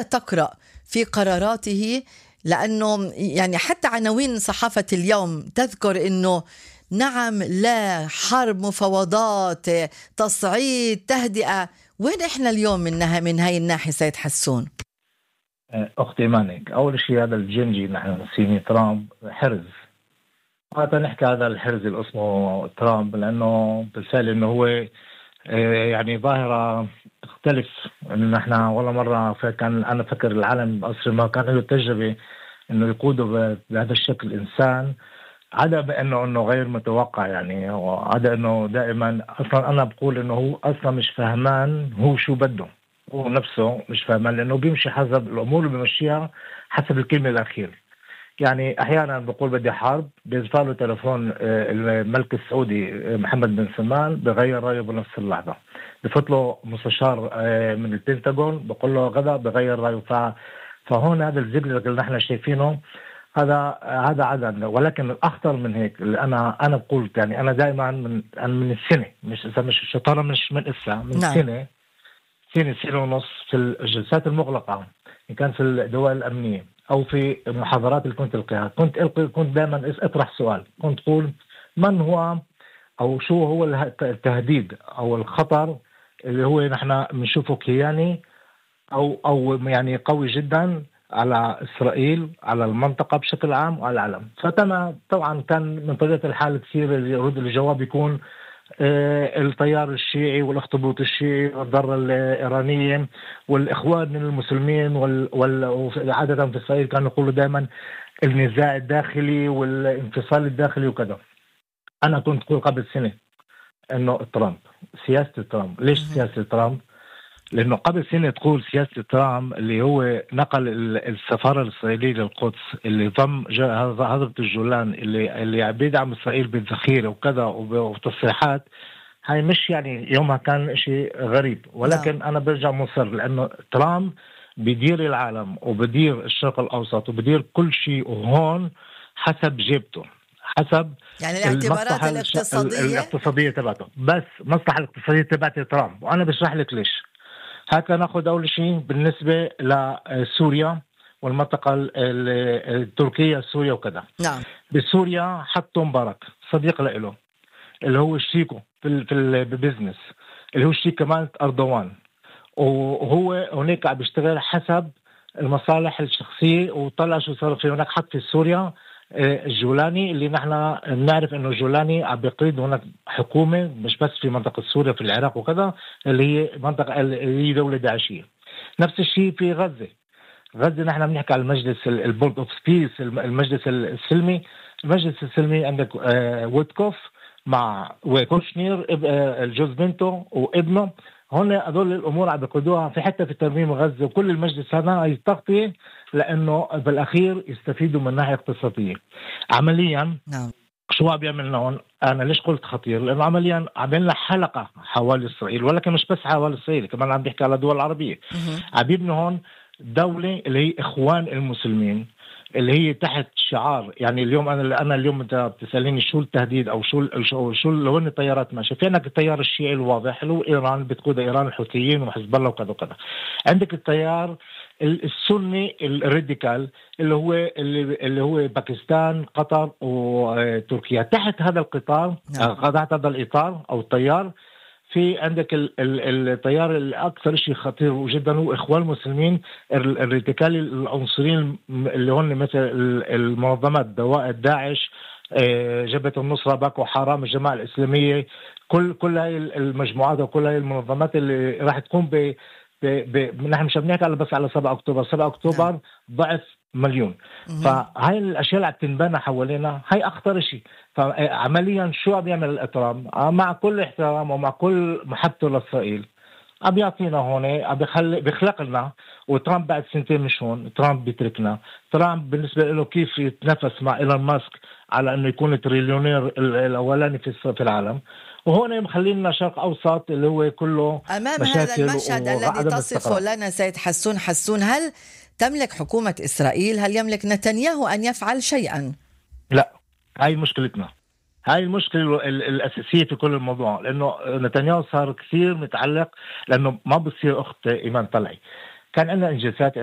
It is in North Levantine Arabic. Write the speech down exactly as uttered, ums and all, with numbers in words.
تقرأ في قراراته؟ لأنه يعني حتى عناوين صحافة اليوم تذكر أنه نعم لا حرب مفاوضات تصعيد تهدئة. وين إحنا اليوم منها من هاي الناحية سيد حسون؟ أختي مانك، أول شيء هذا الجنجي نحن نسيني ترامب حرز. هذا نحكي هذا الحرز اللي اسمه ترامب لأنه بالفعل أنه هو يعني ظاهرة تختلف. إنه نحن ولا مرة كان أنا فكر العالم بأصل ما كان له تجربة إنه يقودوا بهذا الشكل إنسان، عدا بأنه إنه غير متوقع يعني، وعدا إنه دائما أصلا أنا بقول إنه هو أصلا مش فهمان هو شو بده، هو نفسه مش فهمان لأنه بيمشي حسب الأمور اللي بيمشيها حسب الكلمة الأخير. يعني أحيانا بقول بدي حرب، بيزفاله تلفون الملك السعودي محمد بن سلمان بغير رأيه بنفس اللحظة، بفوت له مستشار من البنتاغون بقول له غدا بغير رأيه. فهون هذا الزبل اللي نحن شايفينه هذا هذا عدد. ولكن الأخطر من هيك اللي أنا أنا بقول يعني أنا دائما من من السنة، مش إذا مش الشطارة مش من إسا من نعم. سنة سنة سنة ونص في الجلسات المغلقة إن كان في الدول الأمنية أو في المحاضرات اللي كنت ألقيها، كنت ألقي كنت دائما أطرح سؤال، كنت أقول من هو أو شو هو التهديد أو الخطر اللي هو نحن بنشوفه كياني أو أو يعني قوي جدا على إسرائيل، على المنطقة بشكل عام وعلى العالم. فأنا طبعا كان من طبيعة الحال كثير يرد الجواب يكون آه التيار الشيعي والأخطبوط الشيعي والضرة الإيرانية والإخوان المسلمين وال وعادة في إسرائيل كانوا يقولوا دائما النزاع الداخلي والانفصال الداخلي وكذا. أنا كنت أقول قبل سنة إنه ترامب، سياسة ترامب. ليش سياسة ترامب؟ لأنه قبل سنة تقول سياسة ترامب اللي هو نقل السفارة الإسرائيلية للقدس، اللي ضم هضبة الجولان، اللي اللي بيدعم إسرائيل بالذخيرة وكذا وتصريحات، هاي مش يعني يومها كان شيء غريب. ولكن لا. أنا برجع مصر لأنه ترامب بيدير العالم وبدير الشرق الأوسط وبدير كل شيء وهون حسب جيبته، حسب يعني الاعتبارات الاقتصادية الاقتصادية تبعته. بس مصلحة الاقتصادية تبعت ترامب، وأنا بشرح لك ليش. هكذا ناخذ أول شيء بالنسبة لسوريا والمنطقة التركية سوريا وكذا. نعم. بسوريا حطوا مبارك صديق له اللي هو شريكه في في البزنس، اللي هو شريك كمان أردوان، وهو هناك عم بيشتغل حسب المصالح الشخصية. وطلع شو صار في هناك، حط في سوريا الجولاني اللي نحن نعرف انه الجولاني عم بيقيد هناك حكومة مش بس في منطقة سوريا في العراق وكذا، اللي هي منطقة اللي هي دولة داعشية. نفس الشيء في غزة. غزة نحن بنحكي على المجلس البورد اوف بيس، المجلس السلمي. المجلس السلمي عندك ويتكوف مع وكوشنير الجوز بنته وابنه، هون هذول الامور عم بيقودوها في حتى في ترميم غزة. وكل المجلس هذا هي تغطية لانه بالاخير يستفيدوا من ناحية اقتصادية. عمليا نعم. شو عم بيعمل هون؟ انا ليش قلت خطير؟ لانه عمليا عم يعمل حلقة حوالي اسرائيل، ولكن مش بس حوالي اسرائيل، كمان عم بيحكي على دول عربية. عم يبني هون دولة اللي هي اخوان المسلمين، اللي هي تحت شعار يعني اليوم انا انا اليوم انت بتساليني شو التهديد او شو شو شو لو ان التيارات ماشيه. في عندك التيار الشيعي الواضح اللي هو ايران بتقود ايران الحوثيين وحزب الله وكذا وكذا. عندك التيار السني الراديكال اللي هو اللي, اللي هو باكستان قطر وتركيا. تحت هذا القطار تحت هذا الاطار او التيار في عندك التيار الأكثر شيء خطير جدا هو إخوان المسلمين الراديكالي العنصريين اللي هون مثل المنظمات دواء داعش، جبهة النصرة، باكو حرام، الجماعة الإسلامية. كل كل هاي المجموعات وكل هاي المنظمات اللي راح تقوم ب ب نحن مش بنحكي على بس على سبعة أكتوبر. سبعة أكتوبر ضعف مليون. فهاي الأشياء اللي عم تنبنى حوالينا هاي أخطر شيء. فعمليا شو عم يعمل الإطرام مع كل احترام ومع كل محبته لإسرائيل؟ عم يعطينا هون، عم بيخلق بيخلق لنا. وترامب بعد سنتين مش هون، ترامب بيتركنا. ترامب بالنسبة له كيف يتنافس مع إيلون ماسك على إنه يكون التريليونير الأولاني في في العالم، وهون مخلينا شرق أوسط اللي هو كله أمام مشاكل. هذا المشهد الذي تصفه لنا سيد حسون حسون، هل تملك حكومة إسرائيل، هل يملك نتنياهو أن يفعل شيئا؟ لا، هاي مشكلتنا. هاي المشكلة الأساسية في كل الموضوع، لأنه نتنياهو صار كثير متعلق، لأنه ما بصير أخت إيمان طلعي كان عندنا انجازات